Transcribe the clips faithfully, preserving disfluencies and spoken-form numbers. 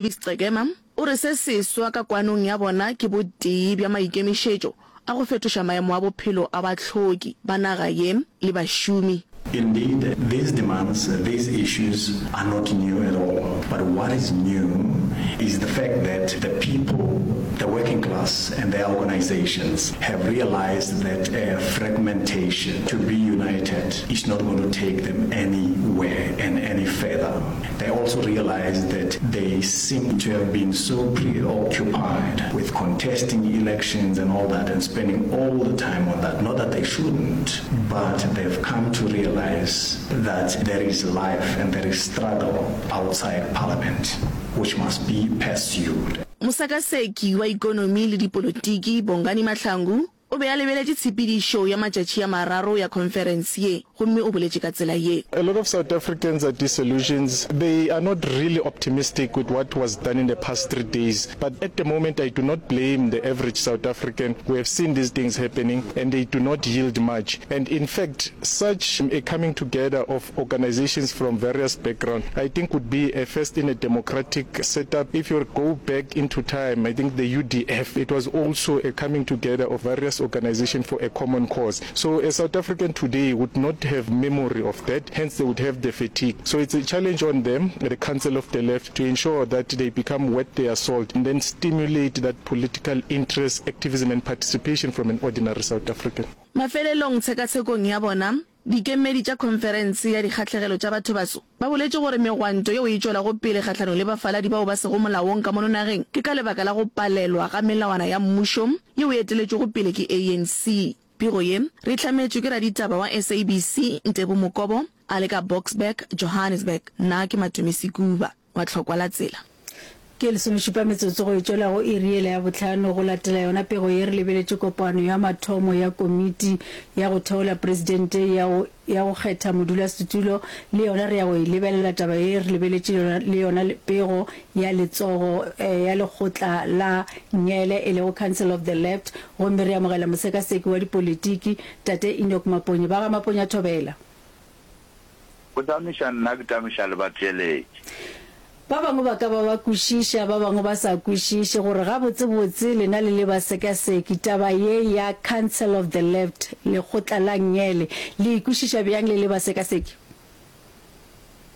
Mavis Qekema o re se seswa ka kwanong ya bona ke botee bja maikemišetšo a go fetoša maemo a bophelo a bahloki ba naga ye le bašomi. Indeed, these demands, these issues are not new at all. But what is new is the fact that the people, the working class and their organizations have realized that uh, fragmentation, to be united, is not going to take them anywhere and any further. They also realize that they seem to have been so preoccupied with contesting elections and all that and spending all the time on that. Not that they shouldn't, but they've come to realize that there is life and there is struggle outside parliament, which must be pursued. Mosekaseki wa ikonomi le dipolotiki Bongani Mahlangu o be a lebeletše tshepedišo ya matšatši a mararo ya khonferense ye gomme o boletše ka tsela ye. A lot of South Africans are disillusioned. They are not really optimistic with what was done in the past three days. But at the moment, I do not blame the average South African. We have seen these things happening and they do not yield much. And in fact, such a coming together of organizations from various backgrounds, I think would be a first in a democratic setup. If you go back into time, I think the U D F, it was also a coming together of various organizations for a common cause. So a South African today would not have memory of that, hence they would have the fatigue. So it's a challenge on them, the Council of the Left, to ensure that they become worth their salt and then stimulate that political interest, activism and participation from an ordinary South African. Mafelelong tshekatshekong ya bona, dikemedi tša khonferense ya dikgahlegelo tša bathobaso ba boletše gore megwanto yeo e tšwelago pele kgahlanong le bafaladi bao ba sego molaong ka mono nageng ke ka lebaka la go palelwa ga melawana ya mmušo yeo e eteletšwego pele ke A N C. Pego ye re hlametšwe ke raditaba wa S A B C Ntebo Mokobo a le ka Boksburg, Johannesburg. Nna ke Matome Sekuba wa Tlhokwa la Tsela. Ke lesomešupa metsotso go e tšwela go iri yela ya bohlano. Go latela yona pego ye, re lebeletše kopano ya mathomo ya komiti ya go theola presidente ya go ya go kgetha modulasetulo. Le yona re ya go e lebelela taba ye. Re lebeletše le yona pego ya letsogo eh, ya lekgotla la ngele, e lego Council of the Left, gomme re amogela mosekaseki wa dipolitiki, tate Enoch Maponye. Ba ga Maponye, thobela. Go tamiša nna, ke tamiša le batheeletši. Ba bangwe ba ka ba ba kwešiša, ba bangwe ba sa kwešiše gore gabotsebotse lena le le basekaseki taba ye ya Council of the Left, lekgotla la ngele, le e kwešiša bjang le le basekaseki?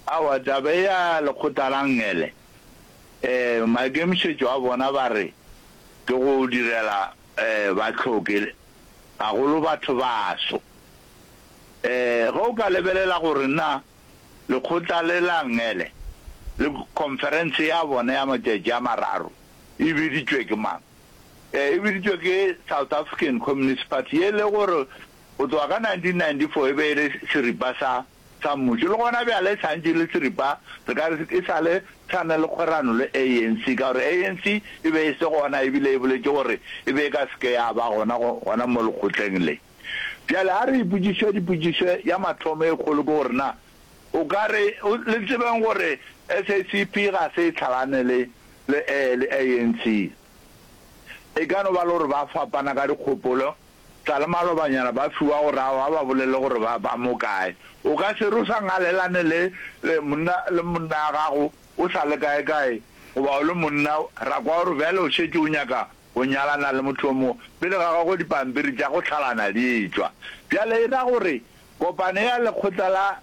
Aowa, taba ya lekgotla la ngele, um maikemišetšo a bona ba re ke go direla um bahloki, gagolo batho baso. um ge o ka lebelela gore na lekgotla le la ngele le conference ya bona ya matšatši a mararo e biditšwe ke mang, um e biditšwe ke South African Communist Party, ye le gore go tloga ka nineteen ninety-four e be e le seripa sa sa mmušo, le gona bjale e santše le seripa. Re ka re e sa le tshwana le kgwerano le A N C, ka gore A N C e be e se gona, ebile e boletše gore e be e ka seke ya ba gona gona mo lekgotleng le. Bjale a re ipotšiše dipotšišo. Ya mathomo e kgolo ke gore na o ka re le tsebeng gore S A C P ga se e tlhalane le le le A N C. E ka no ba le gore ba fapana ka dikgopolo tsa le malobanyana, ba fiwa gore aowa ba bolele gore ba ba mo kae. O ka se re o sa ngalelane le le monna le monna ya gago o sa le kae kae, goba o le monna ra kwa gore bjale o šetše o nyaka go nyalana le motho o mongwe pele ga gago dipampiri tša go tlhalana di etšwa. Bjale e ra gore kopano ya lekgotla la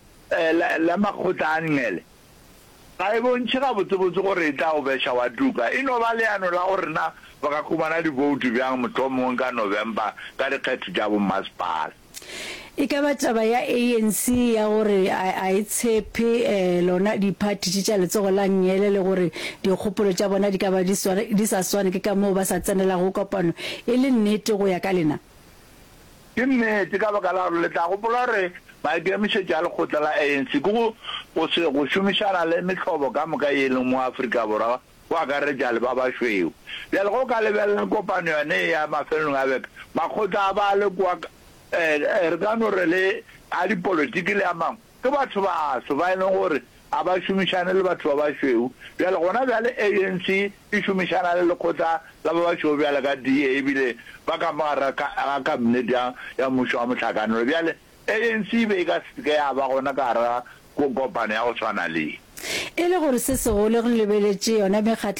la makgotla a ngele ga e bontšhe gabotsebotse gore e tla o beša wa tuka. E no ba leano la gore na ba ka humana diboutu bjang mohlomongwe ka November ka dikgetho tša bommasepala. E ka ba taba ya A N C ya gore a e tshepe um lona diphathi tše tša letsogo la ngele, le gore dikgopolo tša bona di ka ba di sa swane, ke ka moo ba sa tsenelago kopano, e le nnete go ya ka lena? Ke nnete, ka baka la gore le tla gopola gore maikemišetšo a lekgotla la A N C ke go go se go šomišana le mehlobo ka moka ye e leng mo Afrika Borwa, go akaretša le ba bašweu. Bjale ge o ka lebelela kopano yone ya mafelelong a beke, makgotla a ba le kwa, re ka no re le a dipolotiki le a mangwe, ke batho baso ba e leng gore a ba šomišane le batho ba bašweu. Bjale gona bjale A N C e šomišana le lekgotla la ba bašweu bjale ka D A, ebile ba ka mo gare ga kabinete ya ya mmušo wa mohlakanelo. Bjale A N C e be e ka se ke ya ba gona ka gare ga kopano ya go tshwana le. E le gore se segolo re lebeletše yona mekgatlo